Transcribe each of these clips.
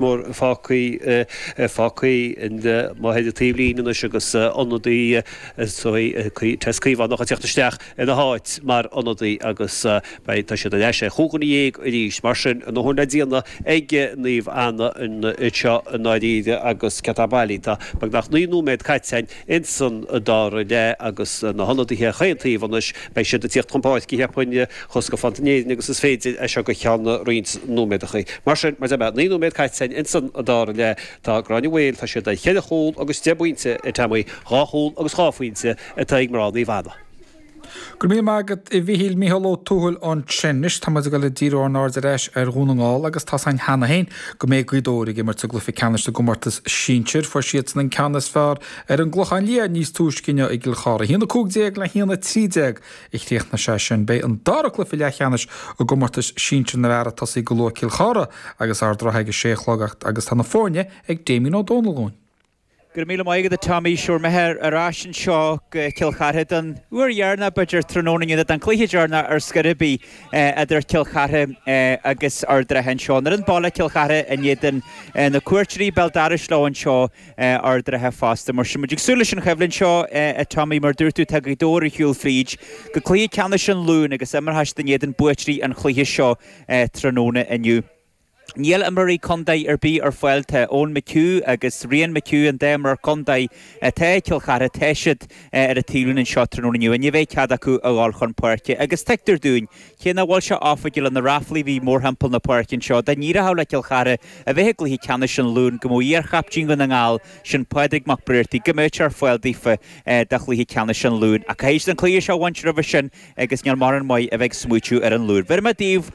Mór fágtha fágtha amuigh ar an taobhlíne anois agus ionadaí Tess Caomhánach ag teacht isteach ina háit mar ionadaí agus beidh tá siad ar ais ar chúig dhuine dhéag arís. Mar sin, a ndóthain le déanamh ag Naomh Anna anseo i ndáiríre agus céard atá bailí. Tá beagnach 9 nóiméad caite againn ins an dara leath agus na hionadaithe chaon taobh anois, beidh siad ag tíocht chun páirce, cheapfainn, chomh scafánta in Éirinn agus is féidir as seo go ceann roinnt nóiméadachaí. Mar sin, mar a deir mé, 9 nóiméad caite againn ins an dara leath. Tá Gráinne Mhaol, tá siad ar cheithre chúl agus deich bpointe, a Tommy, dhá chúl agus dhá phointe atá ag mná Naomh Anna. Go raibh míle maith agat a Mhíchíl, Mícheál Ó Tuathail ansin. Anois tá muid ag dul ag díriú ár n-aird ar ais ar Dhún na nGall agus tá's againn cheana féin go mbeidh Gaoth Dobhair ag imirt i gcluiche ceannais na gcomórtas sinsir. Fuair siadsan an ceann is fearr ar an gClochán Liath níos túisce inniu i gCill Chartha. 1-15 le 1-13 a chríochnaigh sé sin. Beidh an dara cluiche leathcheannais i gcomórtas sinsir na bhfear ag tosaí go luath, Cill Chartha agus Ard an Rátha ag a sé a chlog agus tá na foirne ag Damien Ó Dónaill dúinn. Go raibh míle maith agat a Tommy. Sure mé ar ais anseo go Cill Chartha don uair dheireanach b'fhéidir tráthnóna inniu, don chluiche deireanach ar scor ar bith idir Cill Chartha agus Ard an Rátha anseo. An fhoireann baile Cill Chartha in éadan na cuairteoirí béal dorais leo anseo Ard an Rátha fosta. Mar sin muid ag súil leis an choimhlint seo a Tommy. Mar a dúirt tú tá Gaoth Dobhair ar shiúl fríd go cluiche ceannais an Luain agus imreoidh siad in éadan buaiteoirí an chluiche seo tráthnóna inniu. Níl imreoirí contae ar bith ar fáil. Tá Eoin McHugh agus Rian McHugh, an dá imreoir contae atá ag Cill Chartha, tá siad ar an taobhlíne anseo tráthnóna inniu. Ní bheidh cead acu a dhul chun páirce agus tuigtear dúinn, cé nach bhfuil sé oifigiúil le na ráflaí a bhí mórthimpeall na páirce anseo, dá n-éireodh le Cill Chartha a bheith i gcluiche ceannais an Luain go mbeadh iar-chaiptín Dhún na nGall, sin Pádraig Mac Briartaigh, go mbeadh sé ar fáil daofa do chluiche ceannais an Luain. Ach caithfidh siad an cluiche seo a bhaint roimhe sin agus níl mórán maith a bheith ag smaoitiú ar an Luan. Bhéarfaidh mé daoibh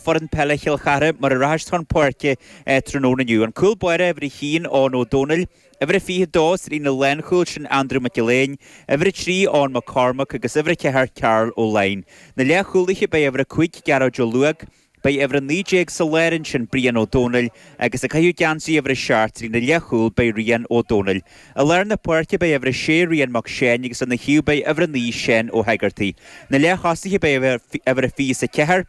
foireann peile Chill Chartha mar a rachaidh siad chun páirce tráthnóna inniu. An cúl báire, uimhir a haon, Eoin Ó Dónaill, uimhir a 22 sa líne lánchúil, sin Andrew Mac Gill-Eain, uimhir a 3, Eoin Mac Cormaic agus uimhir a 4, Karl Ó Laighin. Na leathchúlaithe, beidh uimhir a 5, Gearóid Ó Luaig, beidh uimhir a 19 sa lár ansin, Brian Ó Dónaill, agus ag caitheamh geansaí uimhir a 7 sa líne leathchúil beidh Rian Ó Dónaill. I lár na páirce beidh uimhir a 6, Rian Mac Seáin agus lena thaobh beidh uimhir a 9, Seán Ó hEigeartaigh. Na leath-thosaithe beidh uimhir a 24,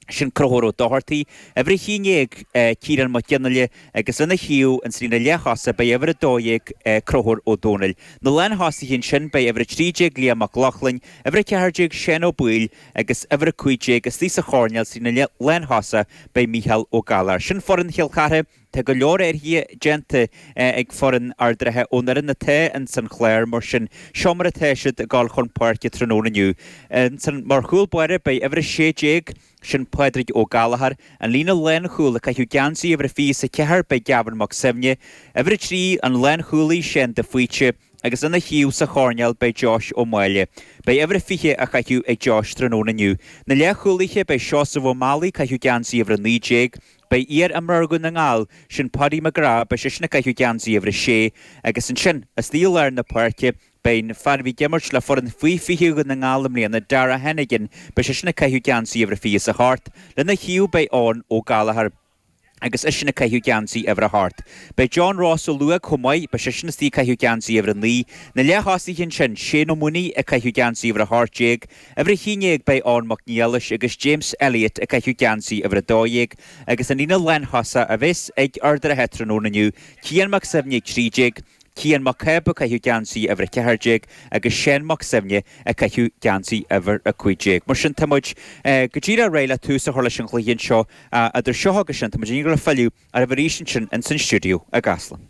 sin Conchúr Ó Dochartaigh, uimhir a 11, Ciarán Mac Fhionnghaile agus lena thaobh ins an líne leath-thosaigh beidh uimhir a 12, Conchúr Ó Dónaill. Na lán-thosaithe ansin beidh uimhir a 13, Liam Mac Lochlainn, uimhir a 14, Seán Ó Baoill agus uimhir a 15 istigh sa choirnéal sa líne lán-thosaigh beidh Mícheál Ó Gallchóir. Sin foireann Chill Chartha. Tá go leor athruithe déanta ag foireann Ard an Rátha ón fhoireann atá ins an Chlár, mar sin seo mar atá siad ag dul chun páirce tráthnóna inniu. Ansan mar chúl báire beidh uimhir a 16, sin Pádraig Ó Gallchóir, an líne lánchúil ag caitheamh geansaí uimhir a 24 beidh Gavin Mac Suibhne, uimhir a 3 an lánchúlaí Seán de Faoite, agus lena thaobh sa choirnéal beidh Josh Ó Máille. Beidh uimhir a 20 á chaitheamh ag Josh tráthnóna inniu. Na leathchúlaithe beidh Seosamh Ó Meallaigh ag caitheamh geansaí uimhir a 19, Beidh iar-imreoir Dhún na nGall, sin Paddy McGrath, beidh seisean ag caitheamh geansaí uimhir a sé agus ansin, istigh i lár na páirce, beidh an fear a bhí ag imirt le foireann faoi 20 Dhún na nGall i mbliana, Dara Hennigan, beidh seisean ag caitheamh geansaí uimhir a 28. Lena thaobh beidh Eoin Ó Gallchóir agus eisean ag caitheamh geansaí uimhir a hocht. Beidh John Ross Ó Luaig chomh maith, beidh seisean istigh ag caitheamh geansaí uimhir a 9. Na leath-thosaithe ansin, Shane Ó Maonaigh ag caitheamh geansaí uimhir a 18, Uimhir a 11 beidh Eoin Mac Niallais agus James Elliott ag caitheamh geansaí uimhir 12 agus an líne lánthosach a bheas ag Ard an Rátha tráthnóna inniu, Cian Mac Suibhne ag 13, Cian Mac Cába ag caitheamh geansaí uimhir 14 agus Seán Mac Suibhne ag caitheamh geansaí uimhir 15. Mar sin tá muid go díreach réidh le tús a chur leis an chluiche anseo idir seo agus sin tá muid i ndiaidh filleadh oraibh arís ansin ins an stiúideo i gCasla.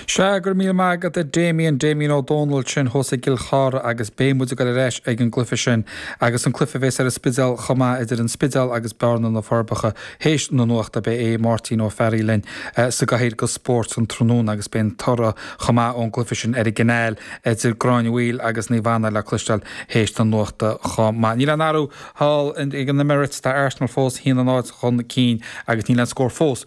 Sea, go raibh míle maith agat a Damien, Damien Ó Dónaill sin thuas i gCill Chartha agus beidh muid ag dul ar ais ag an gcluiche sin agus an cluiche a bheas ar an Spidéal chomh maith idir an Spidéal agus Bearna na Forbacha théis na nuachta. Beidh Aodh Máirtín Ó Fearraigh linn sa gcathaoir do spórt an tráthnóna agus beidh an toradh chomh maith ón gcluiche sin ar an gCineál idir Gráinne Mhaoil agus Naomh Anna le cloisteáil théis na nuachta chomh maith. Níl aon athrú thall ag an Emirates, tá Arsenal fós 1-0 chun cinn agus níl aon scór fós thuas.